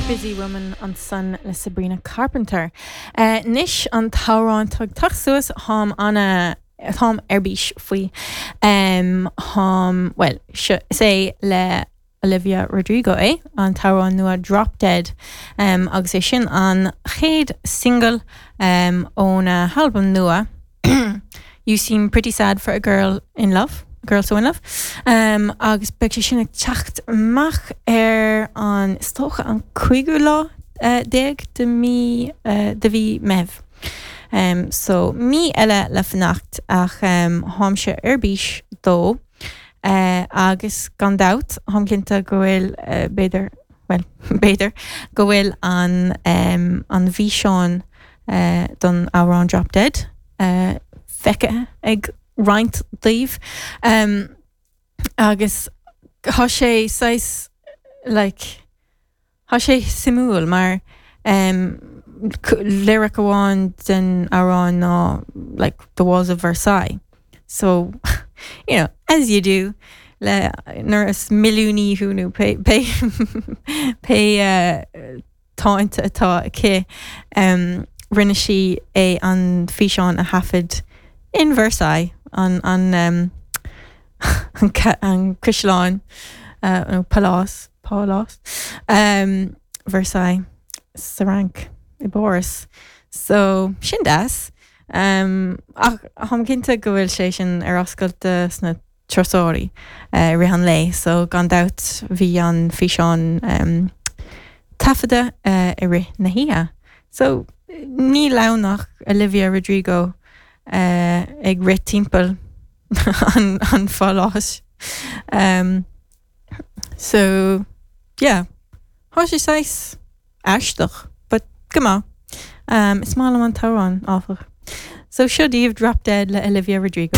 Busy Woman ansan le Sabrina Carpenter. Anois an t-amhrán atá ag teacht suas, táim ana, táim ar bís faoi. Táim, bhuel, seo, is é le Olivia Rodrigo é, an t-amhrán nua Drop Dead, agus é sin an chéad singil óna halbam nua You Seem Pretty Sad for a Girl in Love, a Girl So In Love, agus beidh sé sin ag teacht amach ar an, is dócha, an cúigiú lá déag de mí, de mhí Meitheamh. So, mí eile le fanacht ach táimse ar bís dó. Agus gan dabht, táim cinnte go bhfuil, b'fhéidir, bhuel, b'fhéidir, go bhfuil an, an bhfíseán don amhrán Drop Dead feicthe ag roinnt daoibh. Agus tá sé saghas, like, Tá sé suimiúil mar lyric amháin den amhrán ná like the walls of Versailles. So, you know, as you do le nuair is milliúnaí thú nó pé pé pé táinte atá aici, rinne sí é an físeán a thaifead in Versailles, an an an caisleán nó pálás. Pálás Versailles sa Fhrainc, i bPáras. So, sin deas. Ach táim cinnte go bhfuil sé sin ar oscailt do sna turasóirí i rith an lae, so gan dabht bhí an físeán taifeadta i rith na hoíche. So, níl ann ach Olivia Rodrigo ag rith timpeall an pháláis. So, yeah, tá sé saghas aisteach, but go maith. Is maith liom an t-amhrán, áfach. So seo daoibh Drop Dead le Olivia Rodrigo.